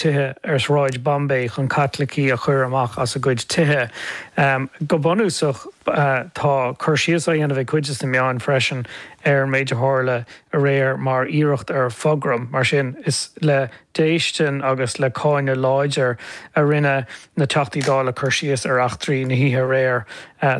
Tithe ar Shráid Bombay chun Caitlicigh a chur amach as a gcuid tithe. Go bunúsach, tá cur síos á dhéanamh ag cuid de na meáin freisin ar an méid a tharla aréir mar iarracht ar phogram. Mar sin, is le déistin agus le cáineadh láidir a rinne na Teachtaí Dála cur síos ar eachtraí na hoíche aréir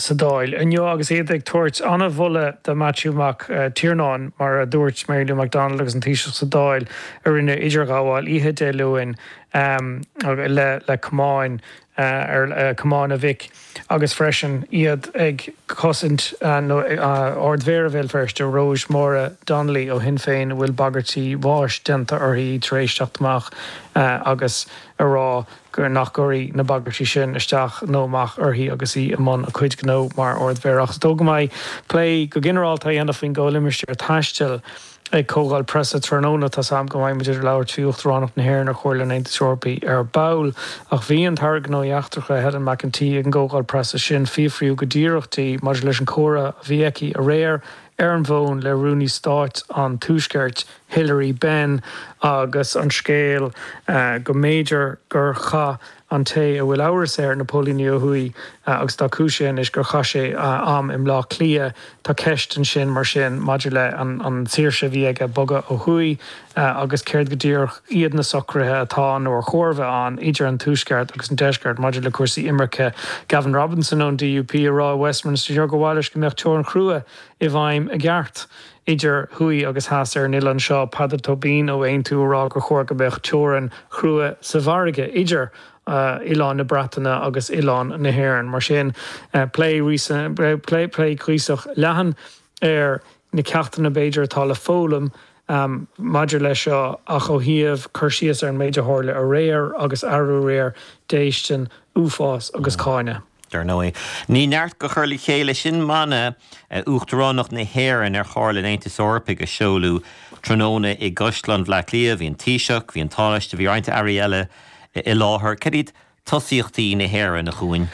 sa Dáil inniu agus iad ag tabhairt an-mholadh do Maitiú Mac Tiarnáin, mar a dúirt Mary Lou McDonald agus an Taoiseach sa Dáil, a rinne idirghabháil oíche Dé Luain le camáin ar camáin a mhic agus freisin iad ag cosaint Ard-Mhéara Bhéal Feirste, Róis Máire Donnelly ó Shinn Féin a bhfuil bagairtí bháis déanta uirthi tar éis teacht amach agus a rá gur nach gcuirfidh na bagairtí sin isteach nó amach uirthi agus í i mbun a cuid gnó mar Ard-Mhéara. Ach is dóigh go mbeidh plé go ginearálta á dhéanamh faoin gcomhlimistéar taistil ag comhdháil preasa tráthnóna. Tá's a'm go mbeidh muid ag labhairt faoi Uachtaránacht na hÉireann ar Chomhairle an Aontais Eorpaigh ar ball. Ach bhí an tAire Gnóthaí Eachtracha, Helen McEntee, ag an gcomhdháil preasa sin. Fiafraíodh go díreach di maidir leis an chomhrá a bhí aici aréir ar an bhfón le Rúnaí Stáit an Tuaiscirt, Hilary Benn, agus an scéal go mb'fhéidir gur chaith an té a bhfuil amhras air, na póilíní ó thuaidh, agus atá cúisithe anois, gur chaith sé am i mBleá Cliath. Tá ceist ansin, mar sin, maidir le an tsaoirse a bhí aige bogadh ó thuaidh agus céard go díreach iad na socruithe atá nó ar chóir a bheith ann idir an Tuaisceart agus an Deisceart maidir le cúrsaí imirce. Gavin Robinson ón DUP ag rá i Westminster inniu gur mhaith leis go mbeadh teorainn chrua i bhfeidhm i gceart idir thuaidh agus theas ar an oileán seo, Peadar Tóibín ó Aontú ag rá gur chóir go mbeadh teorainn chrua sa bhfarraige idir oileán na Breataine agus oileán na hÉireann. Mar sin, plé plé cuíosach leathan ar na ceachtanna b'fhéidir atá le foghlaim maidir leis seo ach ó thaobh cur síos ar an méid a tharla aréir agus arú aréir, déistin, uafás agus cáineadh. Dar ndóigh, ní neart go chur le chéile sin mana Uachtaránacht na hÉireann ar Chomhairle an Aontais Eorpaigh a seoladh tráthnóna i gCaisleán Bhaile Átha Cliath. Bhí an Taoiseach, bhí an Tánaiste, bhí roinnt airí eile i láthair. Cad iad tosaíochtaí na hÉireann, a Chuain?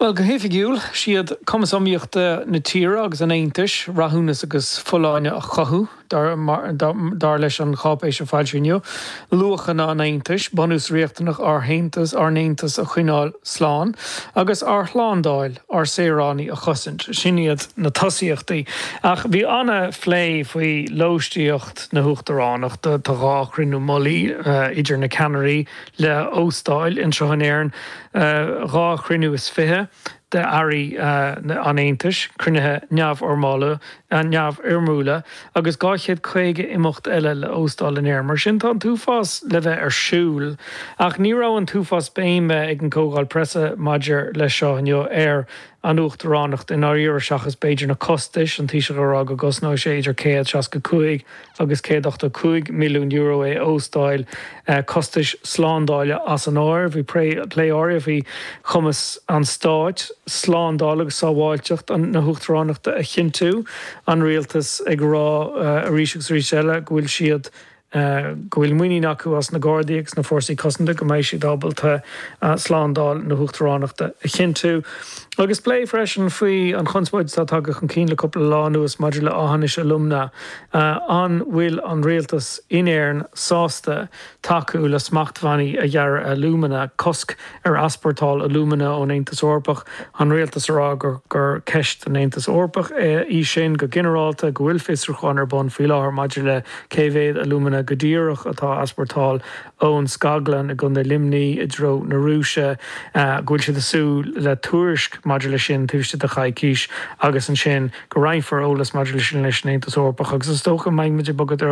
Bhuel, go hoifigiúil, siad cumas iomaíochta na tíre agus an Aontais, rathúnas agus folláine a chothú. Dar leis an cháipéis a foilsíodh inniu, luachanna an Aontais, bunús riachtanach ár nAontas, ár nAontas a choinneáil slán, agus ár shlándáil, ár saoránaigh a chosaint. Sin iad na tosaíochtaí. Ach bhí an-phlé faoi lóistíocht na hUachtaránachta. Tá 2 chruinniú mullaigh idir na ceannairí le hóstáil anseo in Éirinn, 22 chruinniú d'airí an Aontais, cruinnithe neamhfhoirmiúla agus 250 imeacht eile le hóstáil in Éirinn. Mar sin tá an t-uafás le bheith ar siúl. Ach ní raibh an t-uafás béime ag an gcomhdháil preasa maidir leis seo inniu ar an Uachtaránacht i ndáiríre seachas b'fhéidir na costais, an Taoiseach ag rá go gcosnóidh sé idir 165 agus €185 milliún é a óstáil, costais slándála as an áireamh. Bhí plé áirithe faoi chumas an stáit slándáil agus sábháilteacht na hUachtaránachta a chinntiú, an rialtas ag rá arís agus arís eile go bhfuil siad go bhfuil muinín acu as na Gardaí agus na Fórsaí Cosanta go mbeidh siad ábalta slándáil na hUachtaránachta a chinntiú. Agus plé freisin faoi an chonspóid atá tagtha chun cinn le cúpla lá anuas maidir le Aughinish Alumina. An bhfuil an rialtas in Éirinn sásta tacú le smachtbhannaí a ghearradh ar alúmana, cosc ar easpórtáil alúmana ón Aontas Eorpach? An rialtas ag rá gur ceist don Aontas Eorpach í sin go ginearálta, go bhfuil fiosrúchán ar bun faoi láthair maidir le cé mhéad alúmana go díreach atá á easpórtáil ón scaglann i gContae Luimnigh i dtreo na Rúise, go bhfuil siad ag súil le tuairisc maidir leis sin taobh istigh de choicís agus ansin go roinnfear eolas maidir leis sin leis an Aontas Eorpach agus is dócha go mbeidh muid ag bogadh i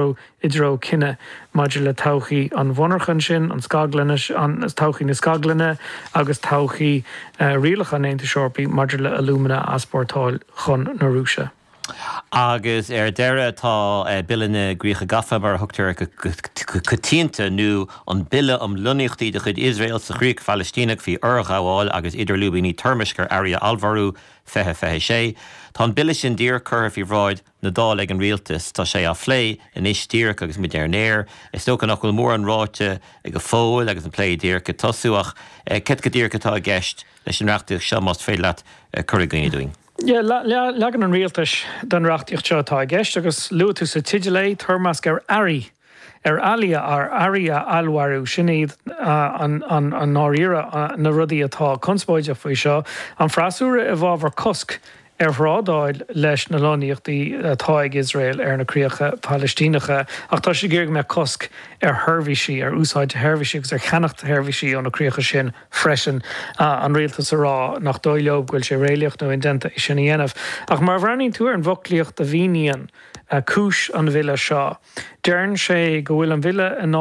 dtreo cinneadh maidir le todhchaí an mhonarchan sin, an scaglann, todhchaí na scaglainne agus todhchaí rialacha an Aontais Eorpaigh maidir le alúmana a easpórtáil chun na Rúise. Agus ar deireadh tá Bille na gCríocha Gafa, mar a thugtar air go coitianta, nó an Bille um Lonnaíochtaí de chuid Iosrael sa Chríoch Phalaistíneach faoi Fhorghabháil agus Idirlúibíní Toirmisc ar Earraí a Allmhairiú, 2026. Tá an bille sin díreach curtha faoi bhráid na Dála ag an rialtas. Tá sé á phlé anois díreach agus muid ar an aer. Is dócha nach bhfuil mórán ráite go fóill agus an plé díreach ag tosú ach céard go díreach atá i gceist leis an reachtaíocht seo, más féidir leat cur i gcuimhne dúinn? Yeah, leagan an rialtais den reachtaíocht seo atá i gceist agus luaigh tú sa teideal é, toirmeasc ar earraí. ar eallaí ar earraí a allmhairiú, sin iad i ndáiríre na rudaí atá conspóideach faoi seo. An freasúra i bhfabhar cosc ar thrádáil leis na lonnaíochtaí atá ag Iosrael ar na críocha Palaistíneacha, ach tá siad ag iarraidh go mbeadh cosc ar sheirbhísí, ar úsáid sheirbhísí agus ar cheannacht sheirbhísí ó na críocha sin freisin. An rialtas ag rá nach dóigh leo go bhfuil sé réalaíoch nó indéanta é sin a dhéanamh. Ach mar a bhreathnaíonn tú ar an bhfoclaíocht a mhíníonn cúis an bhille seo, Deireann sé go bhfuil an bhille in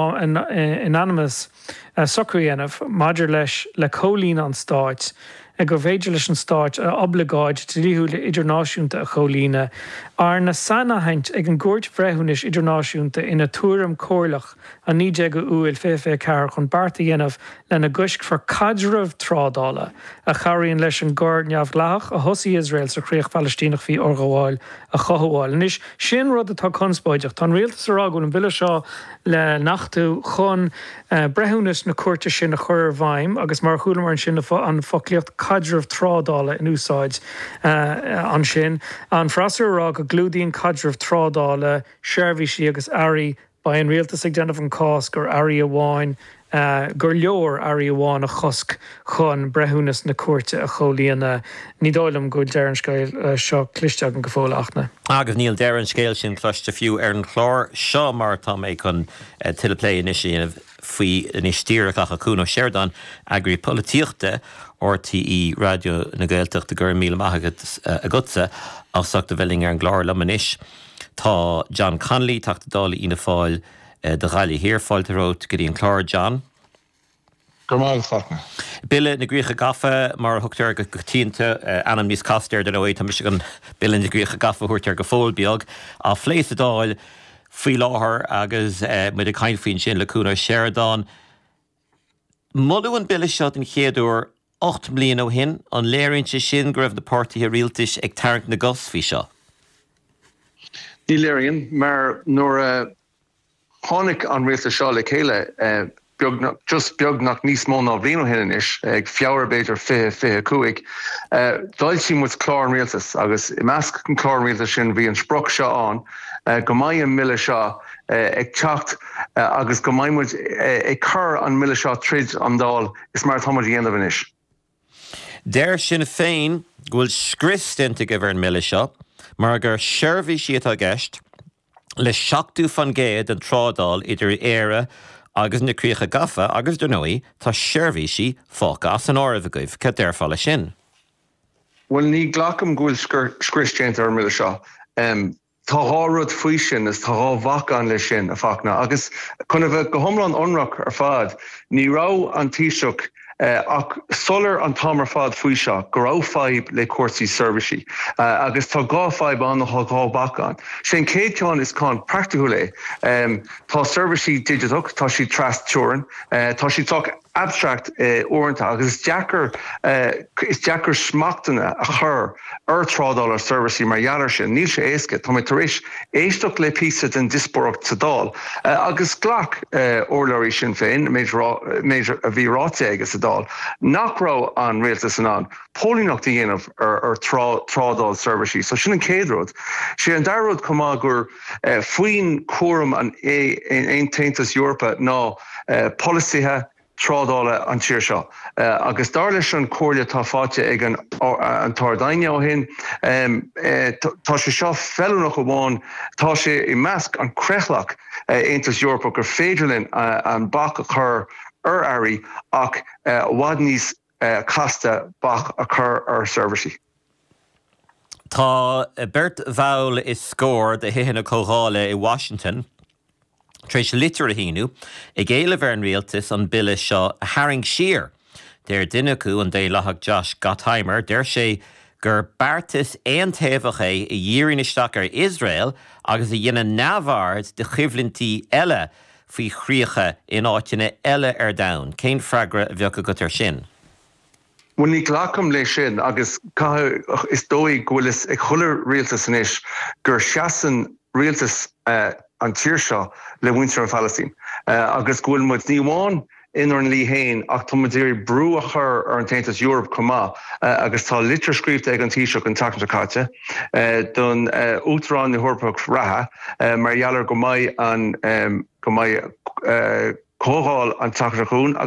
ainm is socrú a dhéanamh maidir leis le comhlíonadh an stáit, gur féidir leis an stáit a oibleagáid dlíthiúil idirnáisiúnta a chomhlíonadh, arna sainaithint ag an gCúirt Bhreithiúnais Idirnáisiúnta ina Tuairim Chomhairleach an 19 Iúil 2024 chun beart a dhéanamh lena gcoiscfear caidreamh trádála a chabhraíonn leis an gcoir neamhdhleathach a thosaigh Iosrael sa chríoch Phalaistíneach faoi fhorghabháil a chothabháil. Anois, sin rud atá conspóideach. Tá an rialtas ag rá go bhfuil an bille seo le n-achtú chun breithiúnas na cúirte sin a chur i bhfeidhm agus mar a chualamar ansin an foclaíocht 'caidreamh trádála' in úsáid ansin. An freasúra ag rá go gclúdaíonn caidreamh trádála seirbhísí agus earraí Beidh an rialtas ag déanamh an cás gur earraí amháin, gur leor earraí amháin a chosc chun breithiúnas na cúirte a chomhlíonadh. Ní dóigh liom go bhfuil deireadh an scéil seo cloiste agam go fóill, a Fhachtna. Agus níl deireadh an scéil sin cloiste fiú ar an chlár seo mar tá mé chun tuilleadh plé anois a dhéanamh faoi anois díreach ach a Chuan Ó Seireadáin, Eagraí Polaitíochta RTÉ Raidió na Gaeltachta, go raibh míle maith agatsa as ucht a bheith linn ar an gclár liom anois. Tá John Connolly, Teachta Dála Fhianna Fáil do Ghaillimh Thiar. Fáilte romhat go dtí an clár, John. Go raibh maith agat, a Fhachtna. Bille na gCríocha Gafa, mar a thugtar air go coitianta, ainm níos casta air, dar ndóigh, tá mise chun Bille na gCríocha Gafa a thabhairt air go fóill beag, á phlé sa Dáil faoi láthair agus muid ag caint faoi ansin le Cuan Ó Seireadáin. Moladh an bille seo den chéad uair 8 mbliana ó shin. An léiríonn sé sin go raibh na páirtithe rialtais ag tarraingt na gcos faoi seo? Ní léiríonn, mar nuair a tháinig an rialtas seo le chéile beagnach, just beagnach níos mó ná bliain ó shin anois, ag Feabhra b'fhéidir 2025, d'fhoilsigh muid clár an rialtais agus i measc an chlár an rialtais sin bhí an sprioc seo ann go mbeidh an mbille seo ag teacht agus go mbeidh muid ag cur an mbille seo tríd an Dáil is mar atá muid a dhéanamh anois. Deir Sinn Féin go bhfuil scrios déanta agaibh ar an mbille seo mar gur seirbhísí atá i gceist le 70% den trádáil idir Éire agus na Críocha Gafa agus, dar ndóigh, tá seirbhísí fágtha as an áireamh agaibh. Cad déarfá leis sin? Bhuel, ní ghlacaim go bhfuil scrios déanta ar an mbille seo. Tá dhá rud faoi sin is tá dhá bhac ann leis sin, a Fachtna. Agus chun a bheith go hiomlán ionraic ar fad, ní raibh an Taoiseach ach soiléir an t-am ar fad faoi seo go raibh fadhb le cúrsaí seirbhísí. Agus tá dhá fadhb ann nó tá dhá bhac ann. Sé an chéad ceann is ceann praiticiúil é. Tá seirbhísí digiteach, tá siad tras teorainn, tá siad sách abstract uaireanta agus is deacair is deacair smachtanna a chur ar trádáil ar seirbhísí mar gheall ar sin. Níl sé éasca. Tá mé tar éis éisteacht le píosa den diospóireacht sa Dáil agus ghlac urlabhraí Sinn Féin, méid méid a bhí ráite aige sa Dáil, nach raibh an rialtas in ann póilíneacht a dhéanamh ar trádáil seirbhísí. So sin an chéad rud. Sé an dara rud chomh maith gur faoin chúram an Aontas Eorpach ná polasaithe trádála an tír seo agus dar leis an comhairle atá faighte ag an tArd-Aighne ó shin, tá sé seo feiliúnach amháin, tá sé i measc an creathlach Aontas Eorpach gur féidir linn an bac a chur ar earraí ach i bhfad níos casta bac a chur ar seirbhísí. Tá beirt bhall is scór de Thithe na Comhdhála i Washington tar éis litir a shíniú ag éileamh ar an rialtas an bille seo a tharraingt siar. Deir duine acu, an Daonlathach Josh Gottheimer, deir sé gur beartas aontaobhach é a dhíríonn isteach ar Iosrael agus a dhéanann neamhaird de choimhlintí eile faoi chríocha in áiteanna eile ar domhan. Cén freagra a bheadh agat air sin? Bhuel, ní ghlacaim léi sin agus caithfidh, is dóigh go bhfuil fhios ag chuile rialtas anois gur seasann rialtas an tír seo le muintir an Phalaistín agus go bhfuil muid, ní amháin. inár ndlí féin ach tá muid ag iarraidh brú a chur ar an tAontas Eorpach chomh maith agus tá litir scríofa ag an Taoiseach an tseachtain seo caite don Uachtarán na hEorpach reatha mar gheall ar go mbeidh an go mbeidh comhdháil an tseachtain seo chugainn.